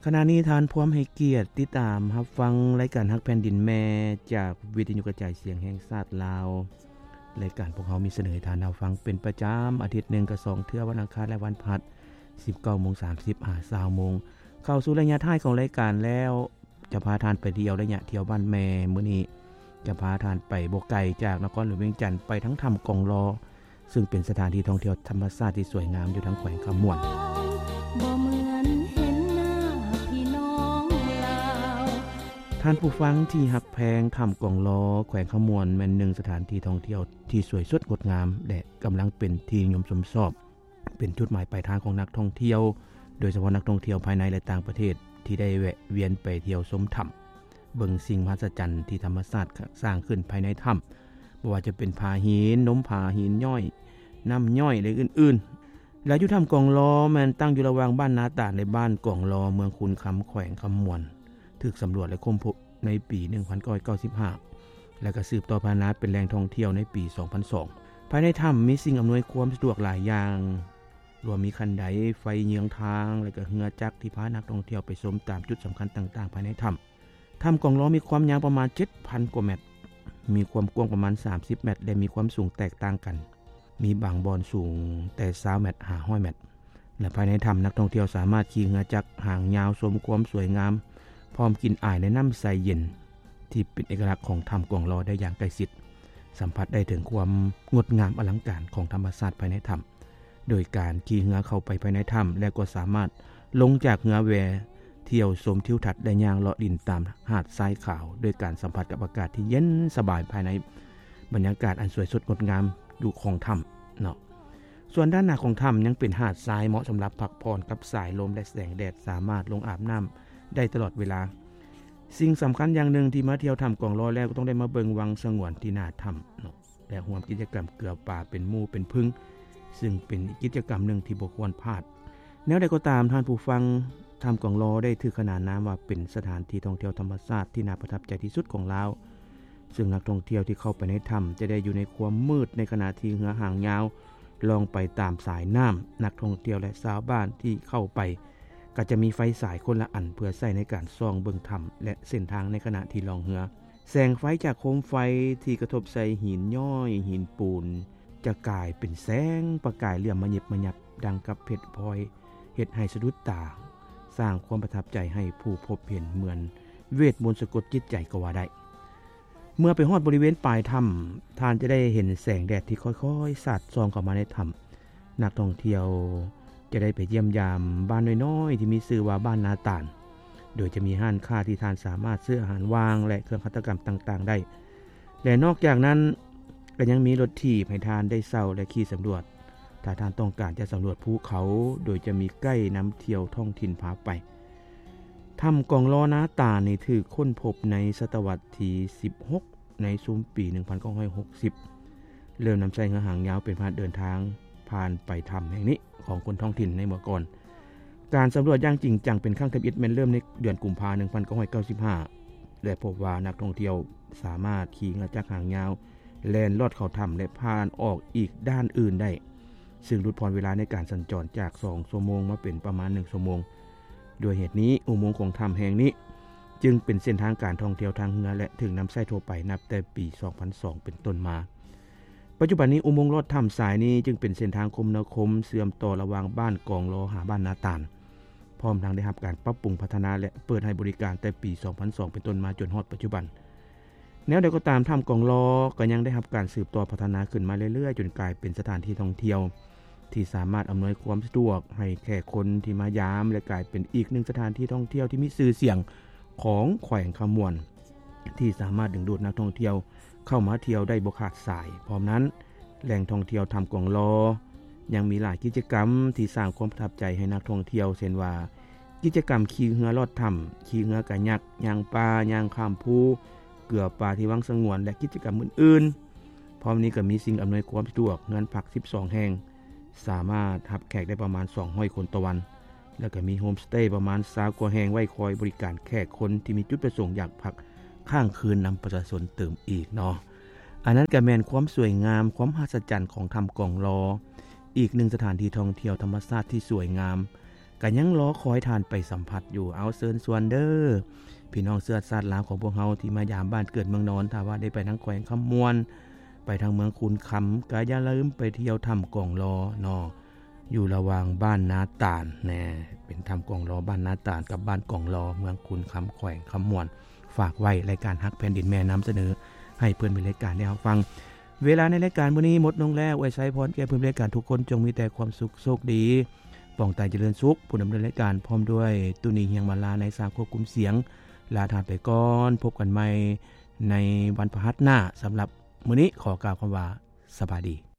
ຂະນະນີ້ທ່ານພວມໃຫ້ກຽດຕິດຕາມຮັບຟັງລາຍການຮັກແຜ່ນດິນແມ່ ຈາກວິທະຍຸກະຈາຍສຽງແຫ່ງຊາດລາວ. ລາຍການພວກເຮົາມີສະເໜີໃຫ້ທ່ານຮັບຟັງເປັນປະຈຳ ອາທິດໜຶ່ງກະສອງເທື່ອ ວັນອັງຄານ ແລະ ວັນພະຫັດ ສິບເກົ້າໂມງສາມສິບ ຫາ ຊາວໂມງ. ເຂົ້າສູ່ໄລຍະທ້າຍຂອງລາຍການແລ້ວ ຈະພາທ່ານໄປທ່ຽວໄລຍະທ່ຽວບ້ານແມ່. ມື້ນີ້ຈະພາທ່ານໄປບໍ່ໄກຈາກນະຄອນຫຼວງວຽງຈັນ ໄປທາງຖ້ຳກອງລໍ ຊຶ່ງເປັນສະຖານທີ່ທ່ອງທ່ຽວທຳມະຊາດທີ່ສວຍງາມຢູ່ທາງແຂວງຄຳມ່ວນ. ບໍ່ເໝືອນເຫັນໜ້າພີ່ນ້ອງລາວ. ທ່ານຜູ້ຟັງທີ່ຮັກແພງ, ຖ້ຳກອງລໍ ແຂວງຄຳມ່ວນ ແມ່ນໜຶ່ງສະຖານທີ່ທ່ອງທ່ຽວທີ່ສວຍສົດງົດງາມ ແລະ ກຳລັງເປັນທີ່ນິຍົມຊົມຊອບ, ເປັນຈຸດໝາຍປາຍທາງຂອງນັກທ່ອງທ່ຽວ, ໂດຍສະເພາະນັກທ່ອງທ່ຽວພາຍໃນ ແລະ ຕ່າງປະເທດ ທີ່ໄດ້ແວະວຽນໄປທ່ຽວຊົມຖ້ຳ, ເບິ່ງສິ່ງມະຫັດສະຈັນທີ່ທຳມະຊາດສ້າງຂຶ້ນພາຍໃນຖ້ຳ, ບໍ່ວ່າຈະເປັນຜາຫີນ, ນົມຜາຫີນຍ້ອຍ, ນ້ຳຍ້ອຍ ແລະ ອື່ນໆ. ແລະ ຢູ່ຖ້ຳກອງລໍ ແມ່ນຕັ້ງຢູ່ລະຫວ່າງບ້ານນາຕານ ແລະ ບ້ານກອງລໍ ເມືອງຄູນຄຳ ແຂວງຄຳມ່ວນ, ຖືກສຳຫຼວດ ແລະ ຄົ້ນພົບໃນປີໜຶ່ງພັນເກົ້າຮ້ອຍເກົ້າສິບຫ້າ ແລະ ກໍສືບຕໍ່ພັດທະນາເປັນແຫຼ່ງທ່ອງທ່ຽວໃນປີສອງພັນສອງ. ພາຍໃນຖ້ຳມີສິ່ງອຳນວຍຄວາມສະດວກຫຼາຍຢ່າງ, ລວມມີຄັນໄດ, ໄຟເຍືອງທາງ ແລະ ກໍເຮືອຈັກທີ່ພານັກທ່ອງທ່ຽວໄປຊົມຕາມຈຸດສຳຄັນຕ່າງໆພາຍໃນຖ້ຳ. ຖ້ຳກອງລໍມີຄວາມຍາວປະມານເຈັດພັນກວ່າແມັດ, ມີຄວາມກວ້າງປະມານສາມສິບແມັດ ແລະ ມີຄວາມສູງແຕກຕ່າງກັນ, ມີບາງບ່ອນສູງແຕ່ຊາວແມັດຫາຮ້ອຍແມັດ. ແລະ ພາຍໃນຖ້ຳ ນັກທ່ອງທ່ຽວສາມາດຂີ່ເຮືອຈັກຫາງຍາວຊົມຄວາມສວຍງາມ ພ້ອມກິ່ນອາຍໃນນ້ຳໃສເຢັນ ທີ່ເປັນເອກະລັກຂອງຖ້ຳກອງລໍໄດ້ຢ່າງໃກ້ຊິດ, ສຳຜັດໄດ້ເຖິງຄວາມງົດງາມອະລັງການຂອງທຳມະຊາດພາຍໃນຖ້ຳ. ໂດຍການຂີ່ເຮືອເຂົ້າໄປພາຍໃນຖ້ຳ ແລ້ວກໍສາມາດລົງຈາກເຮືອແວທ່ຽວຊົມທິວທັດ ແລະ ຍ່າງເລາະຫຼິ້ນຕາມຫາດຊາຍຂາວ ໂດຍການສຳຜັດກັບອາກາດທີ່ເຢັນສະບາຍພາຍໃນບັນຍາກາດອັນສວຍສົດງົດງາມຢູ່ຂອງຖ້ຳເນາະ. ສ່ວນດ້ານໜ້າຂອງຖ້ຳຍັງເປັນຫາດຊາຍເໝາະສຳລັບພັກຜ່ອນກັບສາຍລົມ ແລະ ແສງແດດ, ສາມາດລົງອາບນ້ຳໄດ້ຕະຫຼອດເວລາ. ສິ່ງສຳຄັນຢ່າງໜຶ່ງທີ່ມາທ່ຽວຖ້ຳກອງລໍແລ້ວ ກໍຕ້ອງໄດ້ມາເບິ່ງວັງສະຫງວນທີ່ໜ້າຖ້ຳເນາະ ແລະ ຮ່ວມກິດຈະກຳເກືອປາເປັນໝູ່ເປັນເພື່ອນ, ຊຶ່ງເປັນອີກກິດຈະກຳໜຶ່ງທີ່ບໍ່ຄວນພາດ. ແນວໃດກໍຕາມ, ທ່ານຜູ້ຟັງ, ຖ້ຳກອງລໍໄດ້ຖືກຂນານນາມວ່າເປັນສະຖານທີ່ທ່ອງທ່ຽວທຳມະຊາດທີ່ໜ້າປະທັບໃຈທີ່ສຸດຂອງລາວ, ຊຶ່ງນັກທ່ອງທ່ຽວທີ່ເຂົ້າໄປໃນຖ້ຳຈະໄດ້ຢູ່ໃນຄວາມມືດ ໃນຂະນະທີ່ເຮືອຫາງຍາວລ່ອງໄປຕາມສາຍນ້ຳ. ນັກທ່ອງທ່ຽວ ແລະ ຊາວບ້ານທີ່ເຂົ້າໄປ ກໍຈະມີໄຟສາຍຄົນລະອັນ ເພື່ອໃຊ້ໃນການສ່ອງເບິ່ງຖ້ຳ ແລະ ເສັ້ນທາງໃນຂະນະທີ່ລ່ອງເຮືອ. ແສງໄຟຈາກໂຄມໄຟທີ່ກະທົບໃສ່ຫີນຍ້ອຍ, ຫີນປູນ ຈະກາຍເປັນແສງປະກາຍເຫຼື້ອມມະຫຍິບມະຫຍັບ ດັ່ງກັບເພັດພອຍ, ເຮັດໃຫ້ສະດຸດຕາ, ສ້າງຄວາມປະທັບໃຈໃຫ້ຜູ້ພົບເຫັນ ເໝືອນເວດມົນສະກົດຈິດໃຈກໍວ່າໄດ້. ເມື່ອໄປຮອດບໍລິເວນປາຍຖ້ຳ, ທ່ານຈະໄດ້ເຫັນແສງແດດທີ່ຄ່ອຍໆສາດສ່ອງເຂົ້າມາໃນຖ້ຳ. ນັກທ່ອງທ່ຽວຈະໄດ້ໄປຢ້ຽມຢາມບ້ານນ້ອຍໆທີ່ມີຊື່ວ່າບ້ານນາຕານ, ໂດຍຈະມີຮ້ານຄ້າທີ່ທ່ານສາມາດຊື້ອາຫານຫວ່າງ ແລະ ເຄື່ອງຫັດຖະກຳຕ່າງໆໄດ້. ແລະ ນອກຈາກນັ້ນ, ກໍຍັງມີລົດຖີບໃຫ້ທ່ານໄດ້ເຊົ່າ ແລະ ຂີ່ສຳຫຼວດ ຖ້າທ່ານຕ້ອງການຈະສຳຫຼວດພູເຂົາ, ໂດຍຈະມີໄກນຳທ່ຽວທ້ອງຖິ່ນພາໄປ. ຖ້ຳກອງລໍນາຕານນີ້ຖືກຄົ້ນພົບໃນສະຕະວັດທີສິບຫົກ ໃນຊຸມປີໜຶ່ງພັນເກົ້າຮ້ອຍຫົກສິບ ເລີ່ມນຳໃຊ້ເຮືອຫາງຍາວເປັນພາຫະນະເດີນທາງຜ່ານໄປຖ້ຳແຫ່ງນີ້ຂອງຄົນທ້ອງຖິ່ນໃນເມື່ອກ່ອນ. ການສຳຫຼວດຢ່າງຈິງຈັງເປັນຄັ້ງທຳອິດແມ່ນເລີ່ມໃນເດືອນກຸມພາ ໜຶ່ງພັນເກົ້າຮ້ອຍເກົ້າສິບຫ້າ ແລະ ພົບວ່ານັກທ່ອງທ່ຽວສາມາດຂີ່ເຮືອຈັກຫາງຍາວແລ່ນລອດເຂົ້າຖ້ຳ ແລະ ຜ່ານອອກອີກດ້ານອື່ນໄດ້, ຊຶ່ງຫຼຸດຜ່ອນເວລາໃນການສັນຈອນຈາກສອງຊົ່ວໂມງມາເປັນປະມານໜຶ່ງຊົ່ວໂມງ. ດ້ວຍເຫດນີ້, ອຸໂມງຂອງຖ້ຳແຫ່ງນີ້ຈຶ່ງເປັນເສັ້ນທາງການທ່ອງທ່ຽວທາງເຮືອ ແລະ ຖືກນຳໃຊ້ທົ່ວໄປນັບແຕ່ປີສອງພັນສອງເປັນຕົ້ນມາ. ປັດຈຸບັນນີ້, ອຸໂມງລອດຖ້ຳສາຍນີ້ຈຶ່ງເປັນເສັ້ນທາງຄົມນາຄົມເຊື່ອມຕໍ່ລະຫວ່າງບ້ານກອງລໍຫາບ້ານນາຕານ, ພ້ອມທັງໄດ້ຮັບການປັບປຸງພັດທະນາ ແລະ ເປີດໃຫ້ບໍລິການແຕ່ປີສອງພັນສອງເປັນຕົ້ນມາຈົນຮອດປັດຈຸບັນ. ແນວໃດກໍຕາມ, ຖ້ຳກອງລໍກໍຍັງໄດ້ຮັບການສືບຕໍ່ພັດທະນາຂຶ້ນມາເລື້ອຍໆ ຈົນກາຍເປັນສະຖານທີ່ທ່ອງທ່ຽວທີ່ສາມາດອຳນວຍຄວາມສະດວກໃຫ້ແຂກຄົນທີ່ມາຢາມ ແລະ ກາຍເປັນອີກໜຶ່ງສະຖານທີ່ທ່ອງທ່ຽວທີ່ມີຊື່ສຽງຂອງແຂວງຄຳມ່ວນ ທີ່ສາມາດດຶງດູດນັກທ່ອງທ່ຽວເຂົ້າມາທ່ຽວໄດ້ບໍ່ຂາດສາຍ. ພ້ອມນັ້ນ, ແຫຼ່ງທ່ອງທ່ຽວຖ້ຳກອງລໍຍັງມີຫຼາຍກິດຈະກຳທີ່ສ້າງຄວາມປະທັບໃຈໃຫ້ນັກທ່ອງທ່ຽວ, ເຊັ່ນວ່າ ກິດຈະກຳຂີ່ເຮືອລອດຖ້ຳ, ຂີ່ເຮືອກາຍັກ, ຍ່າງປ່າ, ຍ່າງຂ້າມພູ, ເກືອປາທີ່ວັງສະຫງວນ ແລະ ກິດຈະກຳອື່ນໆ. ພ້ອມນີ້ກໍມີສິ່ງອຳນວຍຄວາມສະດວກ, ເຮືອນພັກສິບສອງແຫ່ງ, ສາມາດຮັບແຂກໄດ້ປະມານສອງຮ້ອຍຄົນຕໍ່ວັນ, ແລ້ວກໍມີໂຮມສະເຕປະມານຊາວກວ່າແຫ່ງ ໄວ້ຄອຍບໍລິການແຂກຄົນທີ່ມີຈຸດປະສົງຢາກພັກຄ້າງຄືນນຳປະຊາຊົນຕື່ມອີກເນາະ. ອັນນັ້ນກໍແມ່ນຄວາມສວຍງາມ, ຄວາມມະຫັດສະຈັນຂອງຖ້ຳກອງລໍ, ອີກໜຶ່ງສະຖານທີ່ທ່ອງທ່ຽວທຳມະຊາດທີ່ສວຍງາມ, ກໍຍັງລໍຄອຍທ່ານໄປສຳຜັດຢູ່. ເອົາ ເຊີນຊວນເດີ້ ພີ່ນ້ອງເຊື້ອຊາດລາວຂອງພວກເຮົາທີ່ມາຢາມບ້ານເກີດເມືອງນອນ, ຖ້າວ່າໄດ້ໄປທາງແຂວງຄຳມ່ວນ, ໄປທາງເມືອງຄູນຄຳ, ກໍຢ່າລືມໄປທ່ຽວຖ້ຳກອງລໍເນາະ, ຢູ່ລະຫວ່າງບ້ານນາຕານແນ່, ເປັນຖ້ຳກອງລໍບ້ານນາຕານກັບບ້ານກອງລໍ ເມືອງຄູນຄຳ ແຂວງຄຳມ່ວນ. ຝາກໄວ້ ລາຍການຮັກແຜ່ນດິນແມ່ນຳສະເໜີໃຫ້ເພື່ອນເປັນລາຍການໄດ້ຮັບຟັງ. ເວລາໃນລາຍການມື້ນີ້ໝົດລົງແລ້ວ. ອວຍໄຊພອນແກ່ເພື່ອນເປັນລາຍການທຸກຄົນ ຈົ່ງມີແຕ່ຄວາມສຸກ, ໂຊກດີ, ປອງຕາຍຈະເລີນສຸກ. ຜູ້ດຳເນີນລາຍການພ້ອມດ້ວຍ ຕຸນີ ຮຽງມາລາ ໃນສາງຄວບຄຸມສຽງ ລາທ່ານໄປກ່ອນ. ພົບກັນໃໝ່ໃນວັນພະຫັດໜ້າ. ສຳລັບມື້ນີ້ຂໍກ່າວຄຳວ່າ ສະບາຍດີ.